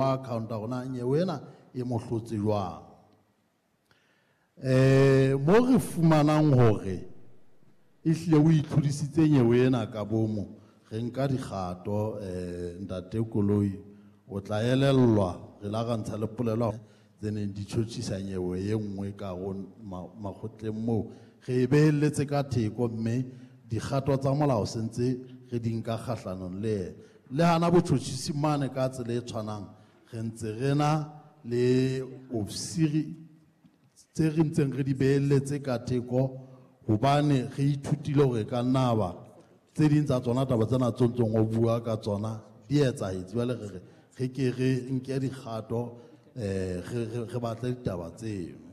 Account hore na nyewe ena e mo hlotse jwang. Mo re fumanang hore ehlile o itlhodisitse nyewe ena ka bomo, re nka dikgato. Ntate Koloi, o tla elellwa re la ra ntsha le polelo tse neng di tjhotjhisa nyewe e nngwe ka ho makgotleng moo re e behelletse ka theko, mme dikgato tsa molao sentse re di nka kgahlanong le yena. Le hana botjhotjhisi mane ka tsela e tshwanang, re ntse re na le ofisiri tse re ntseng re di behelletse ka theko, hobane re ithutile hore ka nna ba tse ding tsa tsona taba tsena tse ntseng o bua ka tsona di etsahetse. Jwale re re re ke re nke dikgato, re batle ditaba tseno.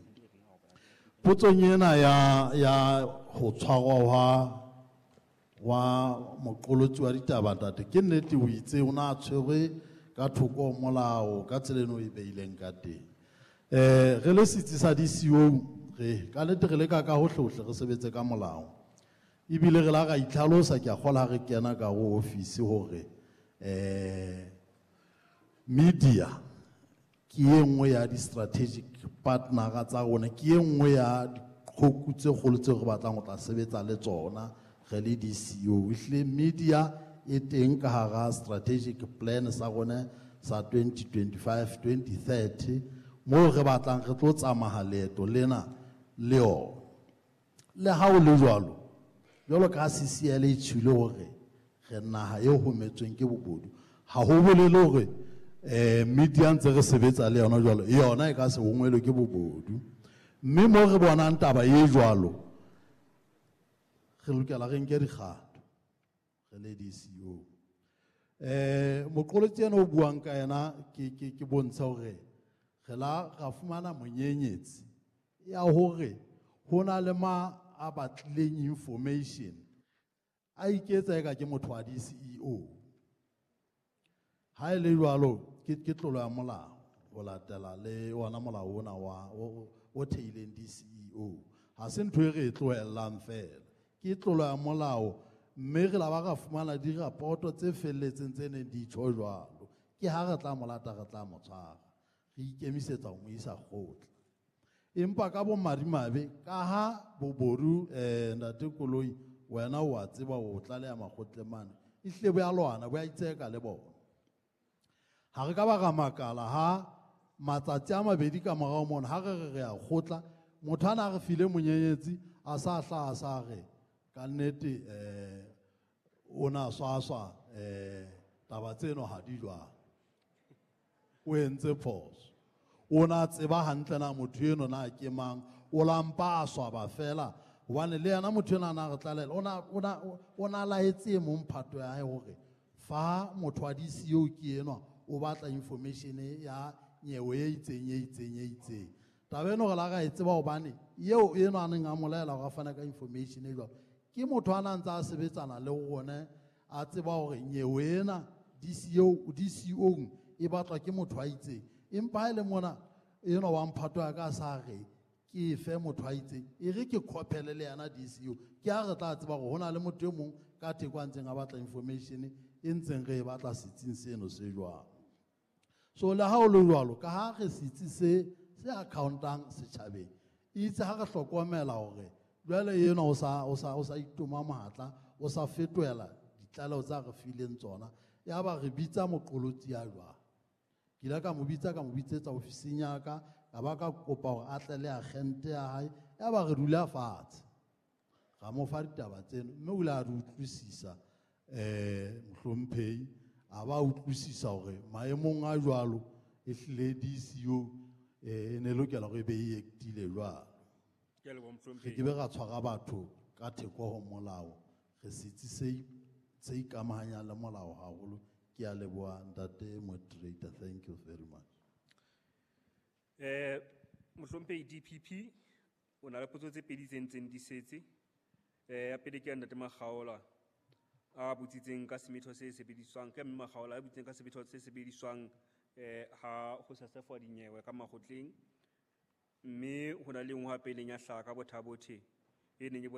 Potsong ena ya ho tshwarwa wa moqolotsi wa ditaba, ntate, ke nnete o itse o na tshwerwe ka thoko ho molao ka tsela eno e beileng ka teng. Re le setsi sa DCO, re ka nnete re leka ka hohle-hohle re sebetse ka molao, ebile re la ra itlhalosa. Ke a kgolwa ha re kena ka ho office hore media ke e nngwe ya di-strategic partner tsa rona, ke e nngwe ya diqhoku tse kgolo tseo re batlang ho tla sebetsa le tsona re le DCO. Ehlile media e teng ka hara strategic plan sa rona sa 2025 2030, moo re batlang re tlo tsamaya leeto lena le yona. Le ha o le jwalo, jwalo ka ha CCL e tjhile hore re naha e hometsweng ke bobodu, ha ho bolele hore media ntse re sebetsa le yona jwalo yona e ka se hongwelwe ke bobodu. Mme mo re bonang taba e jwalo, re lokela re nke dikgato re le DCO. Moqolotsi ena o buang ka yena, ke bontsha hore re la ra fumana monyenyetsi ya hore ho na le ma a batlileng information, a iketsa eka ke motho wa DCEO. Ha e le jwalo, ke tlolo ya molao ho latela le ona molao ona wa o theileng DCEO. Ha se ntho e re e tlohellang fela, ke tlolo ya molao, mme re la ba ra fumana dirapoto tse felletseng tse neng di tjho jwalo. Ke ha re tla mo lata, re tla mo tshwara, re ikemisetsa ho mo isa kgotla. Empa ka bomadimabe, ka ha bobodu, ntate Koloi, wena o a tseba o tlaleha makgotleng mane, ehlile bo ya lwana, bo ya itseka le bona. Ha re ka ba ra makala ha matsatsi a mabedi ka morao mona, ha re re re ya kgotla, motho ana a re file monyenyetsi a sa hlaha, a sa re ka nnete, o na swaswa, taba tseno ha di jwalo, o entse phoso. O na tseba hantle na motho eno na ke mang, o la mpa a swaba fela, hobane le yena motho ena na re tlalela, o na laetse e mong phato ya hae hore fa motho wa DCO ke enwa o batla information ya nyewe e itseng, e itseng, e itseng. Taba eno re la ra e tseba hobane eo eno a neng a molaela hore a fane ka information e jwalo, ke motho a na ntse a sebetsana le rona, a tseba hore nyewe ena DCO, DCO e batlwa ke motho a itseng. Empa ha e le mona enwa wa mphato ya ka a sa re ke fe motho a itseng, e re ke khopele le yena DCO, ke ha re tla tseba hore ho na le motho e mong ka theko a ntseng a batla information e ntseng re e batla setsing seno se jwalo. So le ha o le jwalo, ka ha re setsi se accountang setjhabeng, itse ha re hlokomela hore jwale enwa o sa itoma mohatla, o sa fetohela ditlaleho tsa re fileng tsona, ya ba re bitsa moqolotsi ya jwang. Ke ile ka mo bitsa, ka mo bitsetsa ofising ya ka, ka ba ka kopa hore a tle le agente ya hae, ya ba re dula fatshe, ra mo fa ditaba tseno, mme o ile a di utlwisisa, mohlomphehi, a ba utlwisisa hore maemong a jwalo ehlile DCO, e ne lokela hore e be e actile jwalo. Ke a leboha, Re mohlomphehi. ke be ra tshwara batho ka theko ho molao, re setsi se ikamahanyang le molao haholo. Ke a leboha ntate moderator, thank you very much. Mohlomphehi DPP, o na le potso tse pedi tse ntseng di setse. Ya pele ke ya ntate Makgaola a botsitseng ka semetho se sebediswang, ke mme Makgaola a botsitseng ka semetho se sebediswang, ha ho sesefwa dinyewe ka makgotleng. Mme ho na le e nngwe hape e leng ya hlaha ka Botha-Bothe, e neng e